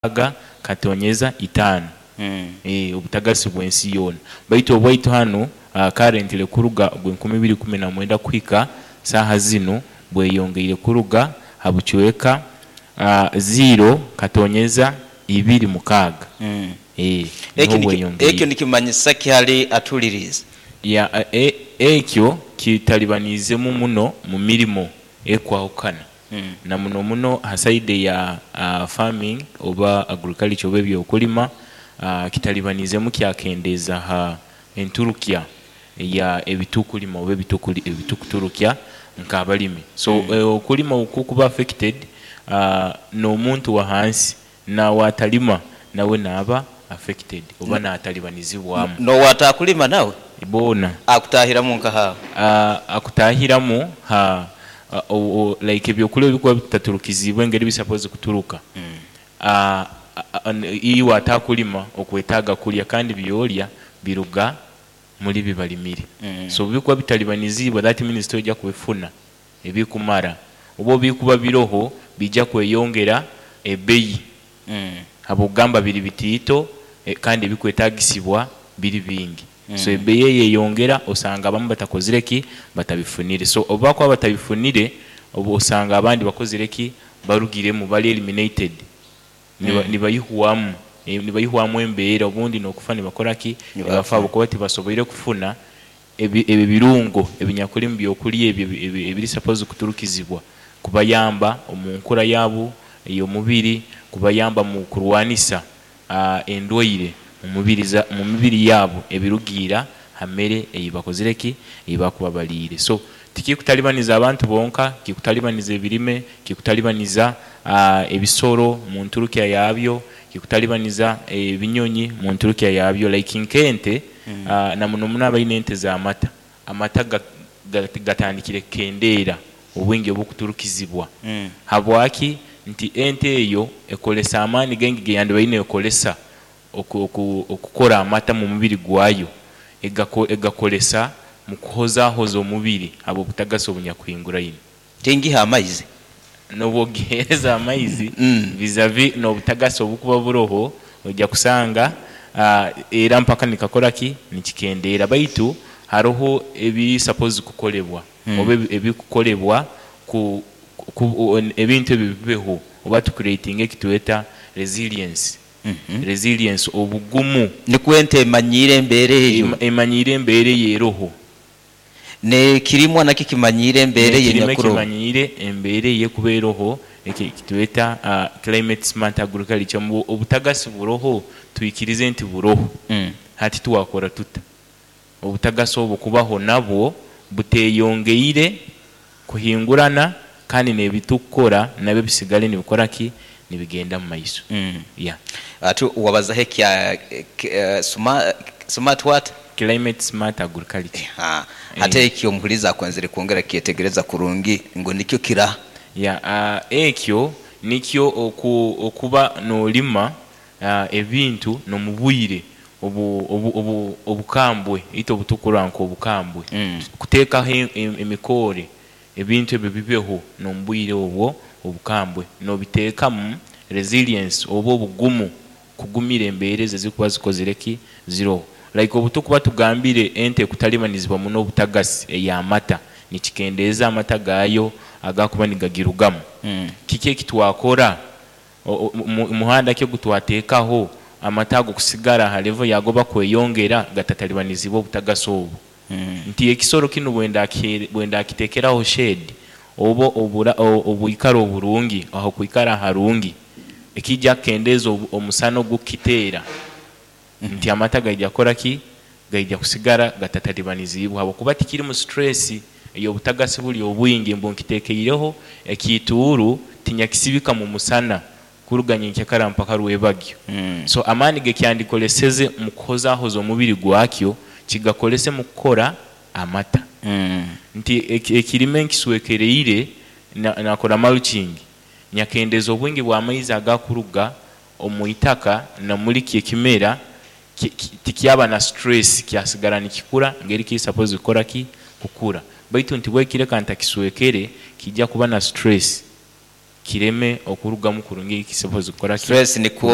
Mukaaga katonyeza itaano obutagasi bw'ensi yoona. Baitu obwaitu hanu currently kuruga ogw'enkumi ibiri ikumi na mwenda kuhika saaha zinu bweyongeire kuruga ha bucweka ziiro katonyeza ibiri mukaaga Ekyo niho ekyo bweyongeire. nikimanyisa ki hali atuhuliriize? Ya ekyo kitalibaniizemu muno mu mirimo ekwahukana na muno muno ha saidi eya farming oba agriculture oba ebyokulima kitalibaniizemu kyakendeeza ha enturukya eya ebitukulima oba ebitukuturukya nk'abalimi. So okulima obukukuba affected, n'omuntu wahansi nawe atalima nawe naaba affected oba natalibanizibwamu. N'owatakulima nawe? Boona. Akutahiramu nkaha aho? Akutahiramu ha like ebyokulya obubikuba bitaturukiziibwe engeri bi supposed kuturuka, iwe atakulima okwetaaga kulya kandi byolya biruga muli bibalimire. So obubikuba bitalibaniziibwe that means toija kubifuna ebikumara oba obubikuba biroho bija kweyongera ebbeyi habwokugamba biri bitiito kandi ebikwetagisibwa biri bingi. So ebbeyi eyeyongera osanga abamwe batakozire ki? Batabifunire. So obubakuba batabifunire, osanga abandi bakozire ki? Barugiremu bali eliminated nibaihwamu nibaihwamu embeera obundi n'okufa nibakora ki? Nibafa habwokuba tibasoboire kufuna ebirungo ebinyakuli omu byokulya ebyo ebiri supposed kuturukizibwa kubayamba omu nkura yaabu ey'omubiri, kubayamba omu kurwanisa endwaire omu mibiri yaabu ebirugiira ha mere eibakozire ki? Eibakuba baliire. So tikikutalibaniza abantu bonka, kikutalibaniza ebirime, kikutalibaniza ebisoro omunturukya yabyo, kikutalibaniza ebinyonyi omunturukya yabyo like nk'ente na muno muno abaine ente z'amata, amata gatandikire kukendeera obwingi obukuturukizibwa. Habwaki? Nti ente eyo ekolesa amaani gaingi geyandibaire neekolesa okukora amata omu mubiri gwayo, egakolesa mu kuhozahoza omubiri habw'obutagasi obunyakuhinguraine. Tingiha amaizi? N'obu ogiheereza amaizi vis-a-vis n'obutagasi obukuba buroho, oija kusanga era mpaka nikakora ki? Nikikendeera baitu haroho ebiri supposed kukolebwa oba ebikukolebwa ebintu ebyo bibeho oba tu creatinge ekitweta resilience, resilience obugumu. Nikwo ente emanyiire embeera eyo. Emanyiire embeera eyo eroho. N'ekirimwa nakyo kimanyiire embeera eyo N'ekirime enyakuroho. Kimanyiire embeera eyo ekuba eroho ekitweta climate smart agriculture ngu obutagasi buroho, twikirize nti buroho, hati twakora tuta? Obutagasi obwo kubaho nabwo buteyongeire kuhingurana kandi n'ebitukukora nabyo bisigale nibikora ki? Nibigenda omu maiso. Yeah. Ati wabazaho ekya smart what? Climate smart agriculture. Hati ekyo omuhuliiriza akwenzere kwongera kukyetegereza kurungi ngu nikyo kiraha? Yeah, ekyo nikyo okuba noolima ebintu n'omu bwire obukambwe itwe obutukurora nk'obukambwe. Kuteekaho emikoore ebintu ebyo bibeho n'omu bwire obwo obukambwe n'obiteekamu resilience oba obugumu kugumira embeera ezo ezikuba zikozire ki? Ziroho. Like obutukuba tugambire ente ekutalibanizibwa muno obutagasi ey'amata, nikikendeeza amata gaayo agakuba nigagirugamu. Kiki ekitwakora? Muhanda ki ogutwateekaho amata ago kusigara ha level yaago oba kweyongera gatatalibanizibwe obutagasi obu? Nti ekisoro kinu bwendakiteekeraho shade oba obwikaro oburungi, ahokwikara aharungi, ekiija kukendeeza omusana ogukukiteera, nti amata gaija kukora ki? Gaija kusigara gatatalibaniziibwe habwokuba tikirimu stress ey'obutagasi buli obwingi mbu nkiteekeireho ekiituuru tinyakisibika mu musana kuruga nyenkyakara mpaka rwebagyo. So amaani gekyandikoleseze mu kuhozahoza omubiri gwakyo, kigakolese mu kukora amata. Nti ekirime nkiswekereire nakora mulching, nyakendeeza obwingi bw'amaizi agakuruga omu itaka na muli kyo ekimera, tikyaba na stress kyasigara nikikura ngeri kiri supposed kukora ki? Kukura. Baitu nti bwekireka ntakiswekere, kiija kuba na stress. Kireme okurugamu kurungi, kisoboze kukora ki? Stress nikwo.